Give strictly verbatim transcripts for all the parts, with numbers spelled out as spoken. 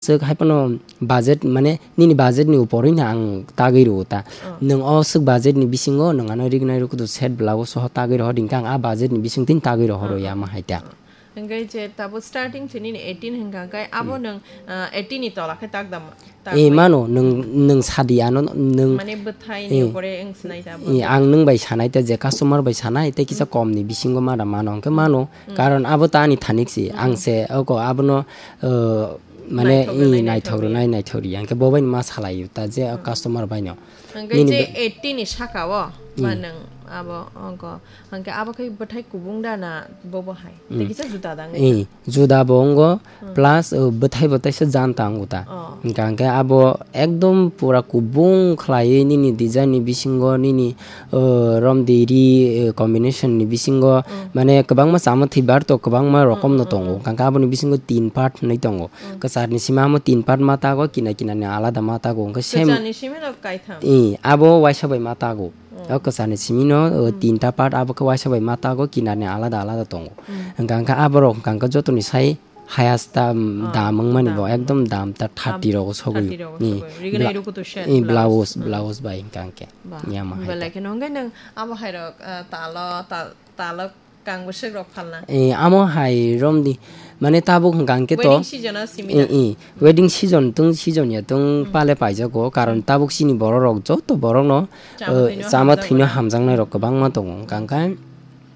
Swk hai phano budget, mane nini budget ni upor wngkha ang tagwi rwo ta. Oh. Nwng o swk budget ni bisingo nwng ano rignai rwkhudu set blouse soho tagwi rohor, hinkhe ang a budget ni bising tini tagwi rohoro. Oh, oh. Yama hai ta. Oh. Hingke je tabo starting se nini eighteen hingka kai abo Hmm. nwng, ah, eighteen ni tola khe tak dam, tak Eh, bai. Mano, nwng, nwng sadi ano, nwng Mane bwthai Eh. ni upore wng sinai ta abo. Eh, ang nwng bai sanai ta, je customer bai sanai, tei kisa Hmm. kom ni bisingo ma da mano, hingke mano, Hmm. karon abo ta ani thanik si, Hmm. ang se, oko abono, eh, mane, Naithok eh, rwnai, naithok naithok rwnai, rwnai, naithok rwnai, hingke bo bai ma salai ta, je Hmm. customer bai no. Hingke Nini je be- eighteen ni saka o, ba Hmm. nwng abo, oko. Hingke abo khe bwthai kubung da na bobo hai? Tei Hmm. kisa juda da wngwi Eh, kha? Juda bo wngo, Hmm. plus, uh, bwthai bo teisa janta wngo ta. Oh. Hingka hingke abo ekdom pura kubung khlaiwi nini design ni bisingo, nini, uh, romdi ri, uh, combination ni bisingo, Hmm. mane kwbangma chama thwi bar to kwbangma Hmm, rokom no hmm, tongo. hmm. Hingka hingke aboni bisingo tin part hinwi tongo. Hmm. Kwcharni simi amo tin part ma tago, kina kina ni alada ma tago. Hingke same Kwcharni simi no kaitham. Eh, abo waisa bai ma tago. Mm. O kwchani simi no, o, Mm. tinta part abo khe waisa bai ma tago, kinar ni alada alada tongo. Mm. Hingka hingke aborok hingka hingke jotoni sai highest dam, Ah, dam wngmani dam. Bo ekdom dam ta thirty Dam rogo sogwi. Thirty rogo Ni sogwi. Rignai bla-, rukutu shed, ni blouse, blouse, mm. Blouse bai hingka hingke. Ba, Ni ama hai belai ta. Kheno hingke nwng abo hai rok, ah, talo, tal-, talo kang bwswk rok phalna. Eh, amo hai romdi. Mane tabuk hingka hingke to. Wedding season o simi Eh, da? Eh. Wedding season tung season ya tung Mm. pale paijago, karon Mm. tabuk chini borok rok joto borok no, Chama eh, thwino chama hamjakmani. Thwino hamjaknai rok kwbangma tongo. Hingka hingke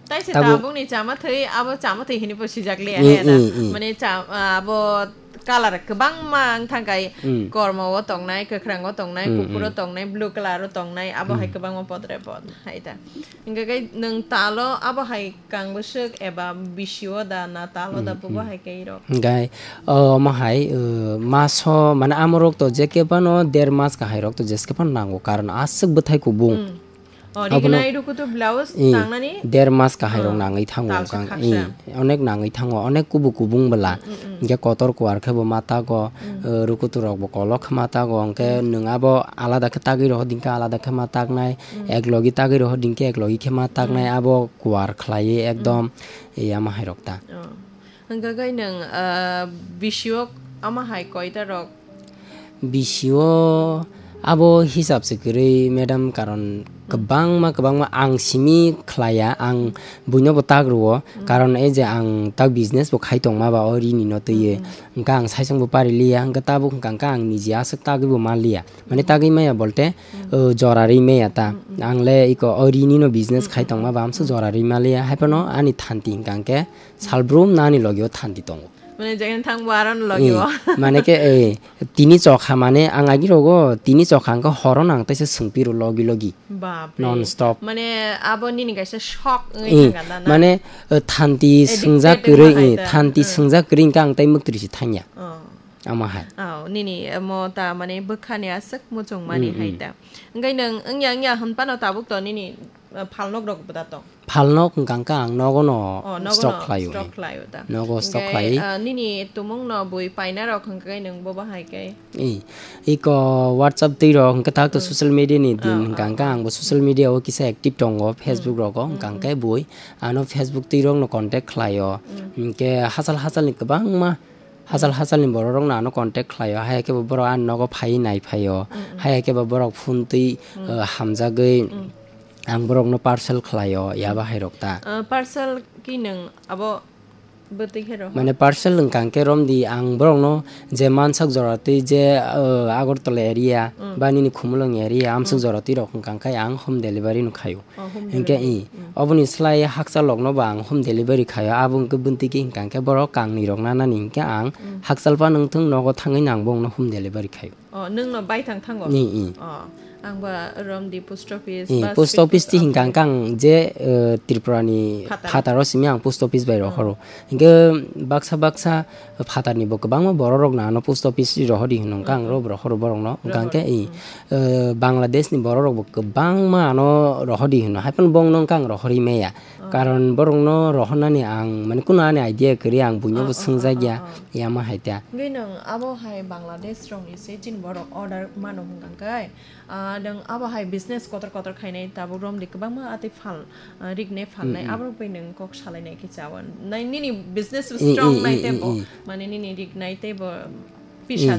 Tai se tabuk tabuk ni chama thwi, abo chama thwi hini bo swijak liya Mm, he da. Mm, mm. Mane cha-, abo colour kwbangma wng thang kai, Mm. kormo o tongnai, kwkhwrang o tongnai, Mm, kuphur o mm. Tongnai, blue colour o tongnai, abo hai Mm. Kwbangma podre pod hai da. Hingke kai nwng talo abo hai kang bwswk eba bisio da na talo da Mm, bobo mm. Hai kai rok. Hingke, o, omo hai, o, maso, mane amorok to je kebano der mas kahai rok to jeske phano nango, karon aswk bwthai kubung. Mm. O, Abono rignai rukutu blouse I, tangnani? Der mas kahai rok Ah, nangwi thango talsa kang, khaksa. I, onek nangwi thango, onek kubu kubung bwla. Mm, mm, mm. Hingke kotor kuar khe bo ma tago, Mm. eh, rukutu rok bo kolok khe ma tago, hingke Mm. Nwng abo alada khe tagwi roho, hingke alada khe ma taknai, Mm. Ek logi tagwi roho, hingke ek logi khe ma taknai, Mm. Abo kuar khlaiwi ekdom, Mm. Yama hai rok ta. Oh. Hingke kai nwng, ah, bisio ama hai koita rok? Bisio abo hisab se kwrwi, madam, karon Hmm. Kwbangma, kwbangma ang simi khlaiya, ang Hmm. Buino bo tak rwo, Hmm. Karon ei je ang tak business bo khai tongma ba o rini no twiwi, Hmm, hmm. Hingke ang saisong bo pari liya, hingke tabuk hingka hingke ang niji aswk tagwi bo ma liya, mane Hmm. Tagwi maya bolte, Hmm. O, jora ri maya ta, Hmm, hmm. Ang le iko o rini no business Hmm, khai hmm, tongma hmm. Ba amso Hmm. Jora ri ma liya, hai phano Hmm. Ani thanti hingka hingke, Salbrum nani logio thanti tongo. Mane jekhen thangbo aro no logio. Eh, mane khe, eh, tini chokha mane ang agi rogo, tini chokha hwnkhe horo nang teisa swngpiro logi logi. Bapre. Non stop. Mane abo nini kaisa shok wngwi Eh, thangkha na, na? Mane, eh, thanti Addicted swngjak wngma kwrwi, hai eh, ta. Thanti Eh. Swngjak kwrwi hwnkhe ang tei mwktwiri se thangya. Oh. Ama hai. Oh, nini, eh, mo ta mane bwkhani aswk muchung mani Mm, hai mm. Ta. Hwnkhe nwng wngya wngya hwnphano tabuk to nini, eh, phalnok rok bwda tong? Phalnok hwnkha hwnkhe ang nogo no Oh, nogo stock no khlaio, stock eh. Khlaio ta. Nogo stock Hwnkhe, khlai. Ah, nini tumung no bui paina rok hwnkhe nwng bo bahai khe? Eh, iko WhatsApp twi rok hwnkhe tak to Hmm. Social media ni din Ah, hwnkha ah, hwnkhe ah. Ang bo social media o kisa active tongo, Hmm. Facebook rogo, hwnkha Hmm, hwnkhe hmm. Bui ano Facebook twi rok no contact khlaio. Hmm. Hwnkhe hachal hachal ni kwbangma Hachal Hmm. Hachalni borok rok no ano contact khlaio, hai khe bo borok ani nogo phaiwi nai phaio, Hmm, hmm. Hai khe bo borok phone twi, Hmm. Uh, hamjagwi Hmm. Ang borok no parcel khlaio, ya Hmm. Bahai rok ta. Uh, parcel ki nwng abo bwtwi khe roho? Mane parcel wngkha hwnkhe romdi ang borok no je mansak jora twi je, uh, Agartala area Hmm. Ba nini Khumulwng area amsuk Hmm. Jora twi rok wngkha hwnkhe ang home delivery no khaio. Oh, home Hwnkhe delivery. I, Mm. Oboni slai hakchalokno bo ang home delivery khaio, abo hwnkhe bwntwi khe hwnkha hwnkhe borok kangni rok nanani hwnkhe ang Mm. Hakchal phano wngthung nogo thangwi nang bongno home delivery khaio. Oh, nwngno baithang thango? I, i. Oh, ang ba romdi post office I, ba post office ti hwnkha hwnkhe ang je, eh, Tripura ni Phatar. Phataro simi ang post office bai Mm. Rohoro. Hwnkhe baksa baksa Phatarni bo kwbangma borok rok no ano post office ri rohor di hwno, wngkha ang Mm, ro mm. Rohor borok no, wngkha Rohor, hwnkhe i, mm. Eh, Bangladesh ni borok rok bo kwbangma ano rohor di hwno, hai phano bong no wngkha ang rohor ri maya. Oh. Karon borok no rohor nani ang, mane, kuno ani idea kwrwi, ang buino Oh, bo oh, oh, swngjak ya, oh, oh. Yama hai ta. Hwnkhe nwng abo hai Bangladesh rok ni se chini borok order mano hwnkha khe? Ah, nwng abo hai business kotor kotor khainai tabuk romdi kwbangma atwi phal, ah, rignai phalnai, Mm, mm. Aborok bai nwng kok salainai khe chawan. Nai nini business bo I, strong i, nai i, tei i, bo, i. Mane nini rignai tei bo Pisa